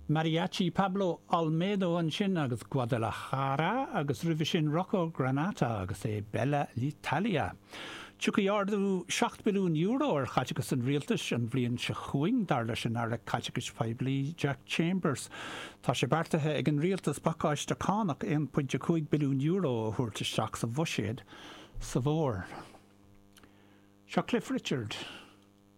Mariachi Pablo Olmedo ansin agus Guadalajara agus roimhe sin Rocco Granata agus E Bella l'Italia. Tiocfaidh ardú €7 billiún ar chaiteachas an rialtais an bhliain seo chugainn, dar leis an Aire Caiteachais Poiblí Jack Chambers. Tá sé beartaithe ag an rialtas pacáiste cánach €1.5 billiún a thabhairt isteach sa bhuiséad sa bhfómhar. Seo Cliff Richard.